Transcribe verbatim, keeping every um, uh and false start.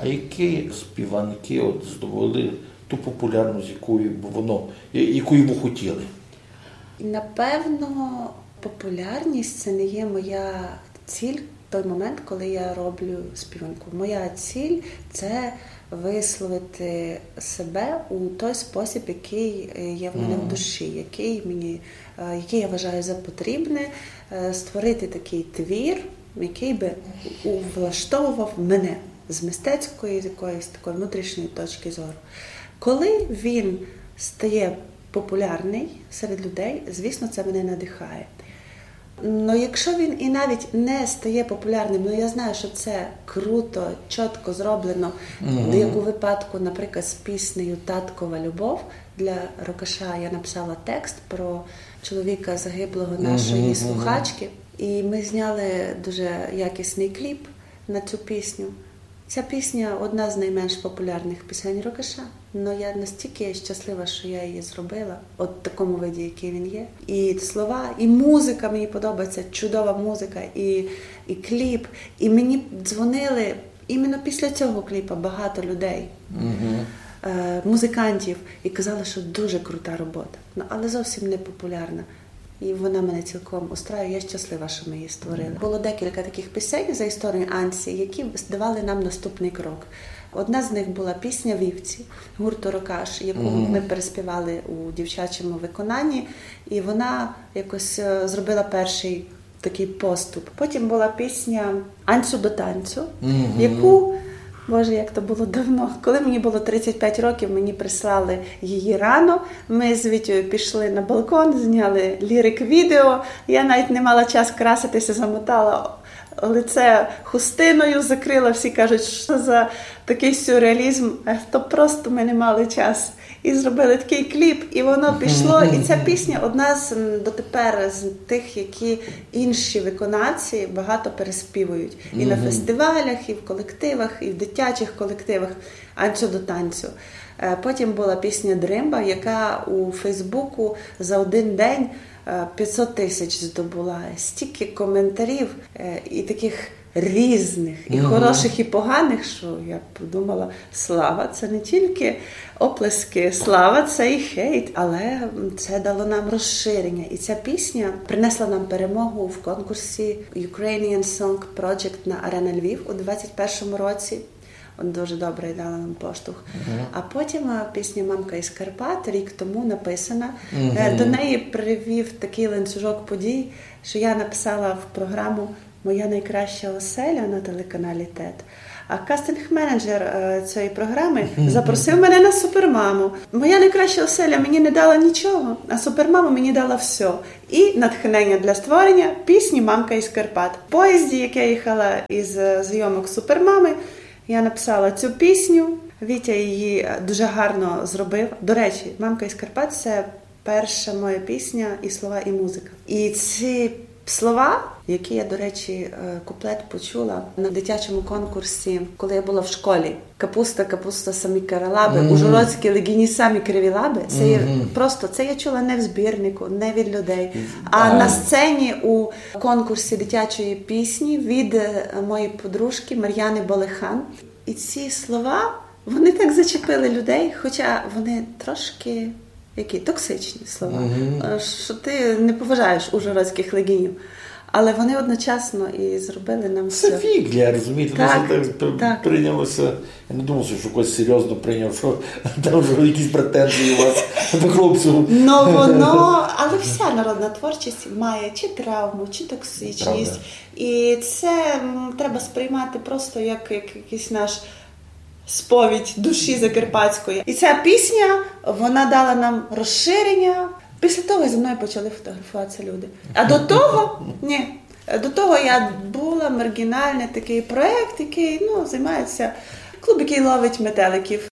Які співанки от здобули ту популярність, якої б воно, я- якої ви хотіли? Напевно, популярність — це не є моя ціль в той момент, коли я роблю співанку. Моя ціль — це висловити себе у той спосіб, який, е, є в мене в душі, який мені, е, який я вважаю за потрібне, е, створити такий твір, який би у- влаштовував мене з мистецької якоїсь такої внутрішньої точки зору. Коли він стає популярний серед людей, звісно, це мене надихає. Ну, якщо він і навіть не стає популярним, ну, я знаю, що це круто, чітко зроблено, як у випадку, наприклад, з піснею «Таткова любов» для Рокаша. Я написала текст про чоловіка загиблого нашої слухачки, і ми зняли дуже якісний кліп на цю пісню. Ця пісня — одна з найменш популярних пісень Рокаша, але я настільки щаслива, що я її зробила, от в такому виді, який він є. І слова, і музика мені подобається, чудова музика, і, і кліп. І мені дзвонили іменно після цього кліпа багато людей, е, музикантів, і казали, що дуже крута робота, ну, але зовсім не популярна. І вона мене цілком устраює, я щаслива, що ми її створили. Було декілька таких пісень за історію Анці, які давали нам наступний крок. Одна з них була пісня «Вівці» гурту «Рокаш», яку ми переспівали у дівчачому виконанні, і вона якось, е, зробила перший такий поступ. Потім була пісня «Анцю до танцю», яку, Боже, як то було давно. Коли мені було тридцять п'ять років, мені прислали її рано. Ми з Вітєю пішли на балкон, зняли лірик відео. Я навіть не мала час краситися, замотала лице хустиною, закрила. Всі кажуть, що за такий сюрреалізм. Е, то просто ми не мали час. І зробили такий кліп, і воно пішло. І ця пісня — одна з, м, дотепер з тих, які інші виконавці багато переспівують. І на фестивалях, і в колективах, і в дитячих колективах «Анцю до танцю». Е, потім була пісня «Дримба», яка у Фейсбуку за один день, е, п'ятсот тисяч здобула. Стільки коментарів, е, і таких різних, і хороших, і поганих, що я подумала, слава — це не тільки оплески, слава — це і хейт, але це дало нам розширення. І ця пісня принесла нам перемогу в конкурсі Ukrainian Song Project на Арена Львів у двадцять першому році. От дуже добре дала нам поштовх. А потім, а, пісня «Мамка із Карпат», рік тому написана. Е, до неї привів такий ланцюжок подій, що я написала в програму «Моя найкраща оселя» на телеканалі ТЕТ. А кастинг-менеджер, е, цієї програми запросив мене на «Супермаму». «Моя найкраща оселя» мені не дала нічого, а «Супермама» мені дала все. І натхнення для створення пісні «Мамка із Карпат». В поїзді, як я їхала із, е, зйомок «Супермами», я написала цю пісню. Вітя її, е, дуже гарно зробив. До речі, «Мамка із Карпат» — це перша моя пісня, і слова, і музика. І ці слова, які я, до речі, е, куплет почула на дитячому конкурсі, коли я була в школі. «Капуста, капуста, самі каралаби, ужгородські легіні, самі криві лаби». Це є просто, це я чула не в збірнику, не від людей, а на сцені у конкурсі дитячої пісні від, е, моєї подружки Мар'яни Болехан. І ці слова, вони так зачепили людей, хоча вони трошки які токсичні слова, е, що ти не поважаєш ужгородських легінів. Але вони одночасно і зробили нам... Це фіґля, розумієте, так, так, так прийнялося. Я не думав, що хтось серйозно прийняв, що там вже якісь претензії у вас до хлопців. Ну, воно, але вся народна творчість має чи травму, чи токсичність. Правда. І це, м, треба сприймати просто як, як якийсь наш сповідь душі закарпатської. І ця пісня, вона дала нам розширення. Після того зі мною почали фотографуватися люди. А до того, ні. До того я була, маргінальний такий проєкт, який, ну, займається клуб, який ловить метеликів.